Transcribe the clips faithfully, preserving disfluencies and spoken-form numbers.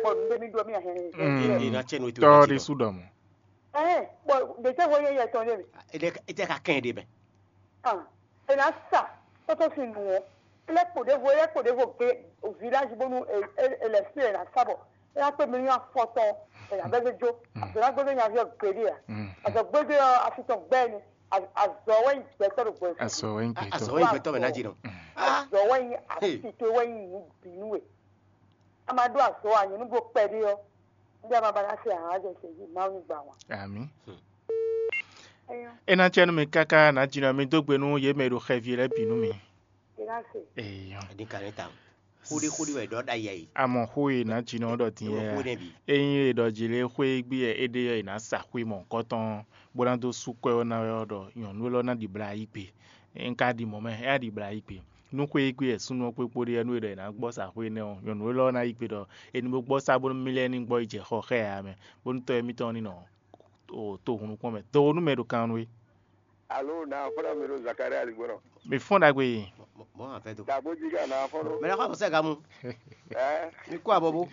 bɔ nǔ ɖé mì ɖɔ mì ahɛn. Mm. Ina cɛ no ito tɔ ɖi su ɖɔ mɔ. Ɛɛ, bɔ ɖe tɛ hɔ yɛ yɛ tɔn ɖe mi. Ete ka kɛn ɖe mɛ. Ah, e na sa tɔtɔ si nu o. Ele kpo ɖevo, ele kpo ɖevo gbe village bonu ele si e na sa bɔ e na kpe mi ya fɔtɔn e na bɛ jo. Azɔ na gbɛdɔ nya viɔ gbeɖe a. Azɔ gbɛdɔ afitɔn gbɛ ni. Azɔ wɛ yi gbɛtɔ ɖo gbɛ. Azɔ wɛ yi gbɛtɔ. Azɔ wɛ yi gbɛtɔ mɛ na ji nɔ. Azɔ wɛ yi afitɔ wɛ yi nu binu we. A ma ɖo azɔ a nyɛ nu bo kpɛ ɖe ɔ. Ndé a ma ba na se ahǎn jɛ se yi Mawu ní gbà wá. Ami. Eyɔ. E ná cɛ nú mi káká nǎ jínɔ mi dó gbe nú yě mɛ e ɖo xɛví lɛ́ɛ bǐ nú mi. E ná se. Eyɔ. Edi ka ne ta. Xóɖé xóɖé wɛ ɖɔ ɖa yɛ yi. Amɔ xó e nǎ jínɔ ɖɔ dín Ewo yɛ. Xó ne bi. Ényí e ɖɔ jí lé xwé gbí yɛ é ɖe yɔ è nǎ sa xwé mɔ̌hunkɔtɔn bó ná dó sú kwɛ́ ɔ́ ná wɛ ɔ́ ɖɔ nyɔ̌nu élɔ́ ná ɖibla yí gbe. Un ka ɖi mɔ̌ mɛ, é wá ɖibla yí gbe. Nú xwé e gbé wɛ súnnu ɔ́ kpé kpóɖé ɔ́, nú è ɖɔ è nǎ gbɔ sa xwé énɛ́ ɔ́, nyɔ̌nu élɔ́ ná yí gbe ɖɔ è ní bó gbɔ sá bónú mì lɛ́ɛ ní gbɔ yi jɛ xɔ xá ɛ ǎ mɛ, bónú tɔ́ émítɔn ní nɔ to hun nukɔn mɛ. Do nú mɛ ɖo kan nú we. Alo na fɔ́nà mi ɖo Zakaria aligbɔnɔ. Mi fɔ́n ɖagbe yi. Mɔ mɔ afɛ do. Dàgbò jí ká na fɔ́nà. Mɛ lɛ kɔ sɛ gamu. Ɛ Mi kó abɔ bó.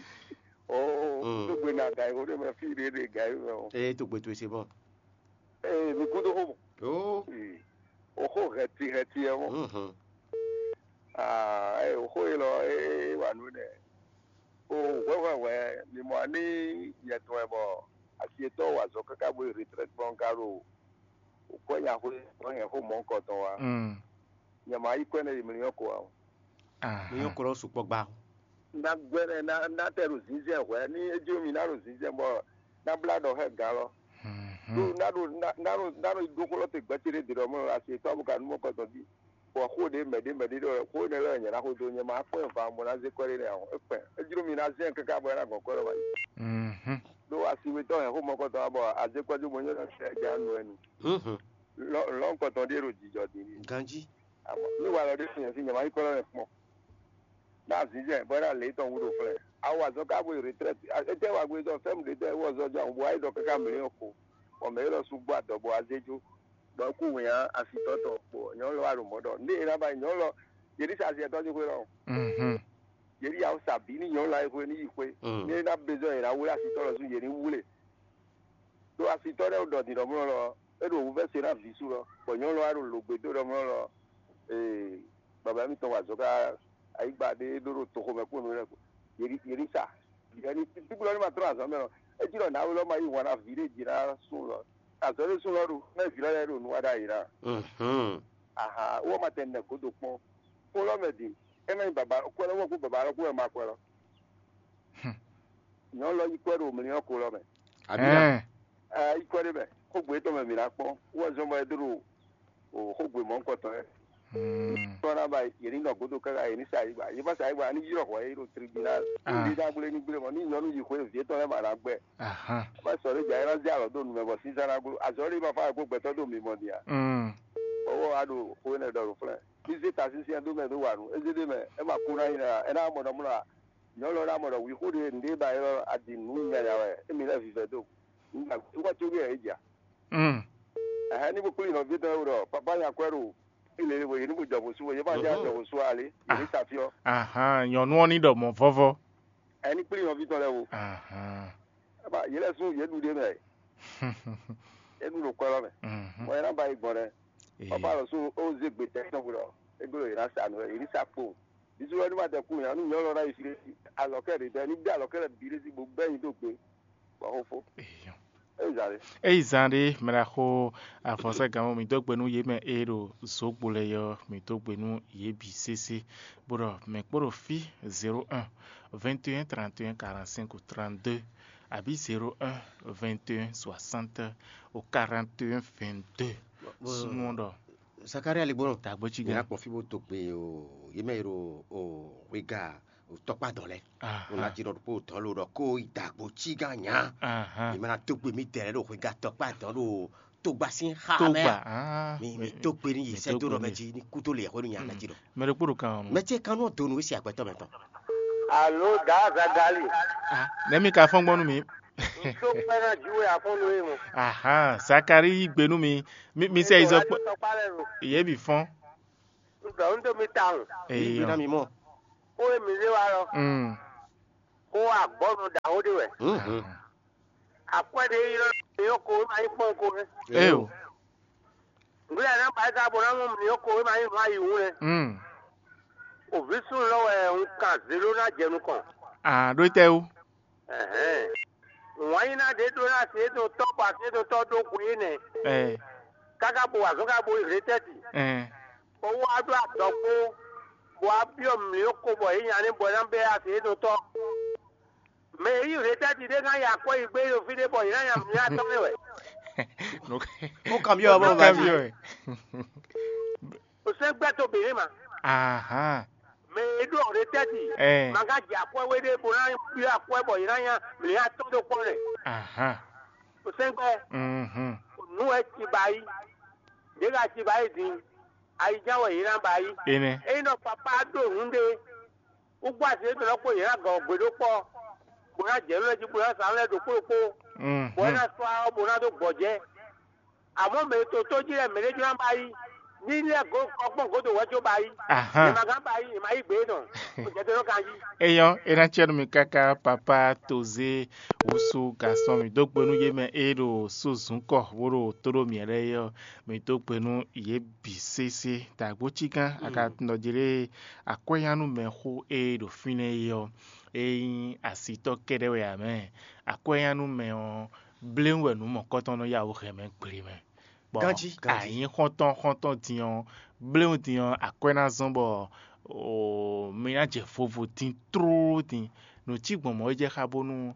O Mm. Tó gbe na gàyí o de mɛ fí ɖe ɖe gàyí mɛ o. Ee tó gbe tó ṣe bɔ. Ee mi kú tó xó mɔ. Oo. Ee, o xó hɛti hɛti ɛ mɔ. Mhm. Aa ɛ o xó yi lɔ ee wà nú nɛ. O hwɛhwɛhwɛ mi mɔ ní yɛtɔn ɛ bɔ asi etɔn wà zɔ káká bó yi retraite bɔ n ka ɖo o kɔ nya xó kɔ nya xó mɔ kɔtɔn wa. Mm. Nyɛ ma yi kɔ nɛ yi mi nyɔ ko wa o. Aha. Mi nyɔ ko lɔ sukpɔ gba. Na gbɛ nɛ na na tɛ ɖo zinzɛn hwɛ ní edzi mi na ɖo zinzɛn bɔ na bla ɖɔ xɛ gan lɔ. Mhm. Ɖo na ɖo na na ɖo na ɖo ɖo xó lɔ te gbɛtɛ ɖe ɖe ɖɔ mɔ asi etɔn abo ka nu mɔ kɔtɔn di. Bɔ xó ɖe mɛ ɖe mɛ ɖe ɖɔ xó ne lɛ nyɛ na xó do nyɛ ma kpɔn va mo na zé kɔ ɖe nɛ ahɔn ekpɛ. Edzi mi na zɛn kaka bɔ na gɔn kɔ lɔ ma yi. Mhm. Ɖo asiwetɔ hɛn xó mɔ kɔtɔn bɔ azé kɔ do mo nyɔ na sɛ ja nu ɛnu. Mhm. Lɔ lɔ kɔtɔn ɖe ɖo jijɔ di ni. Ganji. Amɔ ní wà lɔ ɖé fi nyɛ fi nyɛ ma yi kɔ lɔ mɛ kpɔn. Na zinzɛn bɔ na lě tɔn wúɖo flɛ. Awo azɔ ká bo yi retraite. Ete wa gbe tɔ fɛn ɖe tɛ wɔ zɔ jɔ àwọn bo ayi dɔ kaka mlɛ yɔ ko. Bɔ mɛ yɛ lɔ su gbɔ adɔ bɔ azé jo. Bɔ kú wɛn ya asi tɔtɔ. Bɔ nyɔ lɔ wa ɖo mɔ dɔ. Ndé yɛ na ba nyɔ lɔ. Yɛ ní sa asi ɛtɔ ní xwe lɔ. Mhm. Yɛ ní yawo sa bí ní nyɔ lɔ ayi xwe ní yi xwe. Mm. Ní yɛ na bezɔ yɛ na wúlé asi tɔ lɔ su yɛ ní wúlé. Ɖo asitɔ ɖé ɖɔ dǐndɔmlɔ lɔ, é ɖo wǔvɛ́ se ná vǐ sú lɔ, bɔ nyɔ̌nu lɔ wá ɖo lǒgbé dó ɖɔmlɔ lɔ, ee, baba mitɔn wa azɔ̌ ká ayǐgba ɖé ɖó ɖo toxo mɛ kpó nǔ lɛ́ɛ kpó. Yě ní sa. Yě ní tíblɔ ní ma tlɔ́ azɔ̌ mɛ lɔ, é jí ɖɔ nǎwe lɔ ma yí wǎn ná vǐ ɖé jǐ ná sú lɔ. Azɔ̌ ɖé sú lɔ ɖo, mɛ vǐ lɔ lɛ́ɛ ɖo nǔ wa ɖ'ayǐ ná. Mhm. Aha, wɔ ma tɛ nɛ gǒdo kpɔ́n. Kpó lɔ mɛ din, é má nyí baba kwɛ lɔ, wɔ kpó baba lɔ kpó wɛ ma kwɛ lɔ. Nyɔ̌nu lɔ yí kwɛ́ ɖo mlǐ ɔ́ ko lɔ mɛ. Abina. Ɛɛ. Ɛ, yí kwɛ́ ɖé mɛ, xógbe étɔn mɛ mǐ ná kpɔ́n, wú wɛ zɔ́n bɔ é dó ɖo o xógbe mɔ̌hunkɔtɔn lɛ́ɛ. Hmm. Tɔ́ ná ba yě ní nɔ gǒdo káká yě ní sa yí gba. Yě má sa yí gba, ní ylɔ́ hwɛ yé ɖo tribunal. Ah. Ní ɖá gblé ní gblé mɔ, ní nyɔ̌nu yí xwé vǐ étɔn lɛ́ɛ ma ná gbɛ. Ahan. Má sɔ́ ɖé jà é ná zé alɔ dó nu mɛ bɔ sísá ná gló. Azɔ̌ ɖé ma fá kó gbɛtɔ́ dó mi mɔ din a? Hmm. Bɔbɔ wá ɖo xó énɛ́ ɖɔ ɖo flɛ́. Ní zé ta sínsɛ́n dó mɛ dó wa nǔ. É zé ɖé mɛ, é ma kú ná nyí ná, é ná mɔ nɔ mlɔ́ a? Nyɔ̌nu ɔ́ ná mɔ ɖɔ wǐxú ɖé nǔɖé ba élɔ́ adi nǔ nyanya wɛ émí lɛ́ vivɛ dó. Nǔgbàgbé wá tó wíyɛ é jà. Mm. Ɛhɛn ní bó kplí nɔví tɔn wɛ ɖɔ papá nya kwɛ́ ɖo ilé wɛ yě ní bó jɔ bó sú wɛ yě má já jɔ bó sú alé yě ní sa fí ɔ́. Ahan, nyɔ̌nu ɔ́ ní ɖɔ mɔ̌ vɔ́vɔ́. Ɛ ní kplí nɔví tɔn lɛ́ɛ wo. Ahan. Ɛ má yě lɛ́ sú yě ɖu ɖé mɛ. É ɖu ɖo kwɛ́ lɔ mɛ. Mhm. Mɔ ɛ ná ba yi gbɔn ɖɛ. Ee. Papa lɔ sú ó zé gbe tɛ tɔn ɖɔ é gbé ɖo yě ná sa nǔ wɛ yě ní sa kpo. Bisu wɛ ní ma tɛ kú nya nú nyɔ̌nu ɔ́ ná yi fí ɖé alɔ̌kɛ ɖě tɛ ní dé alɔ̌kɛ lɛ́ɛ bǐ ɖé sí bó bɛ́ nyi dó gbe bɔ xó fó. Eyɔ. Eyi zǎn ɖé. Eyi zan ɖé mɛ ɖaxó afɔnsɛgánmɔ mǐ dó gbe nú yě mɛ e ɖo zǒgbo lɛ́ɛ yɔ mǐ dó gbe nú yě bǐ sésé bó ɖɔ mɛ kpó ɖo fí zéro un vingt et un trente et un quarante-cinq trente-deux abǐ zéro un vingt et un soixante au quarante et un vingt-deux. Súnmọ́ ɖɔ Zakaria Ligbɔnɔ. Tagbo ci Yina gã. Kpɔ fí bó to gbe o, yé mɛ yi ɖo o wega o tɔkpa dɔn lɛ. Aha. O na ji ɖɔ ɖokpo dɔn lo ɖɔ ko yi dagbo ci gã nya. Aha. Yé mɛ na to gbe mi dɛ lɛ ɖo wega tɔkpa dɔn ɖo togba sín xa mɛ. Togba. Ah. Mi mi to gbe ni yi sɛ to ɖɔ mɛ ji ni kuto le yɛ xɔ ni nya na ji ɖɔ. Mɛ ɖokpo ɖo kan ɔnu. Mɛ ce kan nɔ donu esi agbɛtɔ mɛ tɔn. Alo da Zagali. Ah, ne mi ka fɔn gbɔnu mi. Tó pẹ́ náà ju wɛ àfọ́nú yìí mọ̀. Ahan, Zakari yí gbe nú mi. Mi mi sɛ izɔ kpɔ. Tɔkpa lɛ ro. Yé mi fɔn. Ŋgbà ń tó mi ta hùn. Eyɔ. Ìgbéná mi mọ̀. Ó yẹ mi lé wa lọ. Mm. Xó agbɔ́nɔ ɖaxó ɖé wɛ. Mhm. Akwɛ́ ɖé ylɔ́ mǐ ko wé ma nyí kpɔ́n ko wɛ. Eo. Nǔ lɛ́ɛ ná ba ká bó ná mɔ mǐ ko wé ma nyí nǔ ayi wú lɛ. Mm. Òvǐ súnnu lɔ wɛ un kan zě ɖó ná jɛ nukɔn. Ah, ɖó tɛ wú. Ɛhɛn. Wǎn nyí ná ɖě ɖó ná asi édó tɔ́ bɔ asi édó tɔ́ ɖó hwe énɛ́. Ɛ. Káká bo wa azɔ̌ ká bo yi hletɛ́ti. Ɛ. Bɔ wá ɖó adɔkpó, bɔ wá byɔ́ mǐ ko bɔ yě nya ní bɔ ná bɛ́ asi édó tɔ́. Mɛ e yí hletɛ́ti ɖé ná ya akwɛ́ yi gbé ɖo fí ɖé bɔ yě ná nya mǐ atɔ́ mɛ wɛ. Ó kan byɔ́ bɔ Kan byɔ́ ɛ. O sɛ́n gbɛ́ tó bělé ma. Ahan. Mɛ e ɖó hletɛ́ti Ɛ. ma ka jɛ akwɛ́ wé ɖé bó ná byɔ́ akwɛ́ bɔ yě ná nya mǐ atɔ́ ɖó kpɔ́n lɛ. Ahan. O sɛ́n gbɛ́ Mhm. Nǔ wɛ ci ba yí. Ɖě ka ci ba yí din. Ayiján wɛ yě ná ba yí. Énɛ́. Ényí nɔ papá ɖó nǔ ɖé. Wúgbú azě tɔn lɔ kpó yě ná gɔn gbě ɖó kpɔ́, bó ná jɛ nú lɛ́ɛ jí bó ná sa nú lɛ́ɛ ɖokpó ɖokpó, bó ná sɔ́ awɔ bó ná dó gbɔjɛ́. Amɔ̌ mɛ e to tó jí lɛ́ɛ mɛ ɖé jló ná ba yí, ní lɛ́ɛ gǒ kɔ kpɔ́n gǒdo wɛ̌ có ba yí. Ahán. È ma gán ba yí, è ma yí gbě tɔn, bó jɛ te nɔ kan jí. Eyɔ́, é ná cɛ nú mi káká, papá Tozé wúsú gasɔ́n mǐ dó gbe nú yé mɛ e ɖo sózun kɔ bó ɖo tó ɖó mǐ lɛ́ɛ é ɔ́, mǐ dó gbe nú yě bǐ sésé. Dǎgbó cígán, a ka tunɔ jí lé akwɛ́nyánúmɛxó e ɖo fínɛ́ é ɔ́, é nyí asitɔ́ kɛ́ɖɛ́ wɛ ǎ mɛ. Akwɛ́nyánúmɛ ɔ́, bléwún wɛ nǔ mɔ̌kɔtɔn nɔ yá wǔ hɛn mɛ gble mɛ. Bɔ Ganjí, ganjí. Anyǐ xɔ́ntɔn xɔ́ntɔn din ɔ́, bléwún din ɔ́, akwɛ́ ná zɔ́n bɔ oo, mi ná jɛ vovo din tlóló din. Nǔ cí gbɔn mɔ̌ é jɛ xá bónú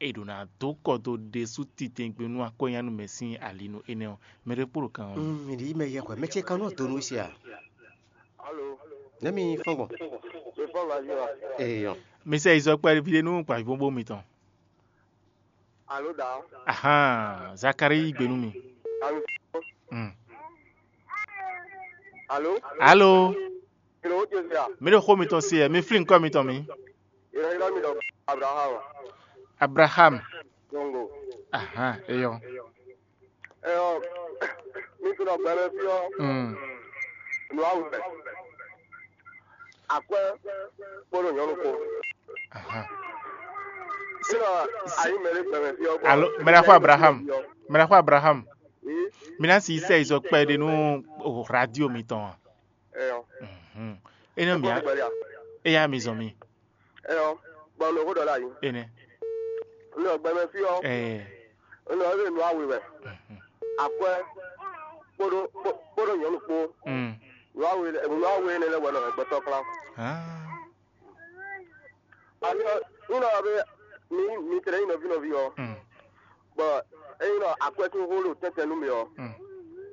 è ɖǒ ná dó kɔ dó ɖésú titewungbe nú akwɛ́nyánúmɛ sín ali nú énɛ́ ɔ́. Mɛ ɖé kpó ɖo kan ɔ́. Mm, mi ɖi mɛ yɛ hwɛ mɛ ce kan nɔ do nú sia. Alo, Ne mi fɔn gbɔn. Mi fɔ ma yɔ. Eyɔn. Mi sɛ izɔ kpɛɖé vi ɖé nú gbajúgbó mitɔn. Alo da. Ahan, Zakari yí gbe nú mi. Alo. Mm. Alo. Alo. Kilo o jɛ sia. Mi ɖo xó mitɔn se ɛ, mi flín kɔ mitɔn mi. Ira ira mi dɔ Abraham. Abraham. Dongo. Ahan, eyɔn. Ɛyɔ, mi tunɔ gbɛmɛ fí ɔ́, Mm. nǔ awu mɛ. Akwɛ́ kpódó nyɔ̌nu kpó. Ahan. Sínɔ ayi mɛ ɖé gbɛmɛ fí ɔ́. Alo, mɛ ɖaxó Abraham. Mɛ ɖaxó Abraham. Ii. Mi ná si sɛ izɔ kpɛɖé nú o radio mitɔn a? Ɛyɔ. Mhm. Ene mi Kpódó gbɛɖe a? Eya mi zɔn mi. Ɛyɔ, gbɔn nɔ xó ɖɔ la yi. Ene. Nɔ gbɛmɛ fí ɔ́, Ɛɛ. Nɔ ebe nɔ awe wɛ. Mhm. Akwɛ kpóɖó kpó- kpóɖó nyɔ̌nu kpó. Mm. Nɔ awe nɔ awe ne lɛ wɛ nɔ gbɛtɔ kplá. Ah. Ami ɔ, nɔ be mi mi tlɛ yi nɔvi nɔvi ɔ. Mm. Bɔ eyi nɔ akwɛ tún xó ɖo tɛntɛn nú mi ɔ. Mm.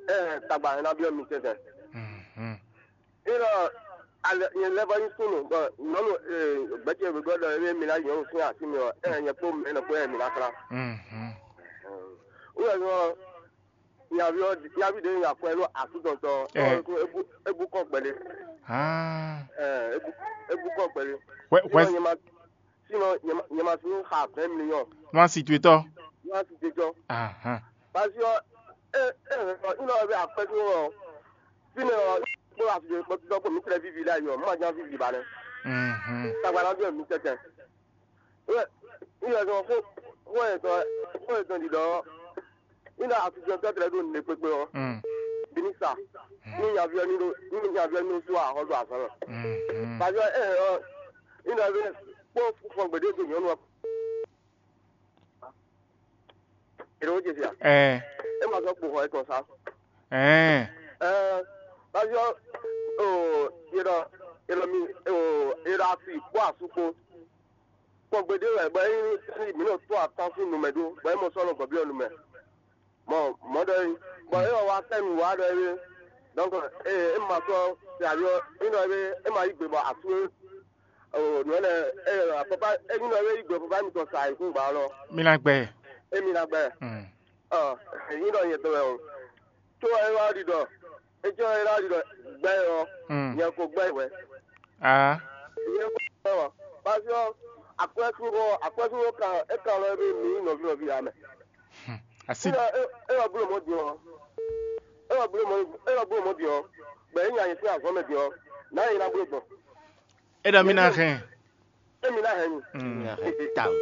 Ɛ tagba hɛn na biɔ mi tɛntɛn. Mhm. Ina ale nyɛ lɛ va nyi súnnu bɔ nyɔnu gbɛtɛ wegɔ́ ɖɔ ewé mi ná nyɔnu sín asi mi ɔ ɛ nyɛ kpó mɛ nɔ kpó ɛ mi ná klá. Mhm. Wúlò ɔ nyaví ɔ nyaví ɖe nyi akwɛ nú asú tɔntɔ Ɛ. Ɔ ebu ebu kɔ gbɛlɛ. Ah. Ɛ ebu ebu kɔ gbɛlɛ. Wɛ wɛ Ina nyɛ ma sinɔ nyɛ ma nyɛ ma sún xa vingt millions. Wọ́n á sì tu etọ́. Wọ́n á sì tu etọ́. Ahan. Parce que ɛ ɛ ɛ ina ɔbɛ akwɛ tó ɔ. Fine ɔ kpó asúgbó kpó títọ́ kpó mi tẹ̀lé vivi la yɔ mọ́ àjá vivi ba nɛ. Mhm. Tagba la bí mi tɛtɛ. Wɛ ina sɔ fó fó yɛ tɔ fó yɛ tɔ di dɔ ina asúgbó tɔ tẹ̀lé do ne kpekpe ɔ. Mm. Bini sa ni nyaviɔ ni do ni nyaviɔ ni do su ahɔ do azɔn. Mhm. Parce que ɛ ɔ ina bɛ kpó fɔ gbede do nyɔnu ɔ. Ero je fia. Ɛɛ. E ma sɔ kpo xɔ etɔn sa. Ɛɛ. Ɛɛ, parce que o yedɔ yedɔ mi o yedɔ asi kpó asu kpó. Kpɔn gbede wɛ bɔ e mi nɔ to atan fún numɛ ɖó bɔ e mɔ sɔ nɔ gɔbiɔ numɛ. Mɔ mɔ ɖɔ yi bɔ e wɔ wa fɛn nu wa ɖɔ yi. Donc e e ma sɔ se aɖo e nɔ e e ma yi gbe bɔ asu e o nɔ lɛ e papa e nɔ e yi gbe papa mi tɔ sa yi kún gba lɔ. Mi na gbɛ. E mi na gbɛ. Mm. Ɔ, èyí ɖɔ nyɛ tɔn wɛ o. Tó ɛ wá ɖi ɖɔ, etsɔ ɛ wá ɖi ɖɔ gbɛ ɔ, Mm. Nyɛ ko gbɛ wɛ. Ah. Nyɛ ko gbɛ wɔ. Parce que akwɛsúnɔ akwɛsúnɔ kan e kan lɔ ebe mi nɔvi nɔvi ya mɛ. Asi. Ina e e wɔ blo mɔ di ɔ. E wɔ blo mɔ e wɔ blo mɔ di ɔ. Gbɛ e nya yɛ sí azɔn mɛ di ɔ. Na yɛ na blo gbɔn. E ɖɔ mi na hɛn. Émi ná hɛn mi. Tawun.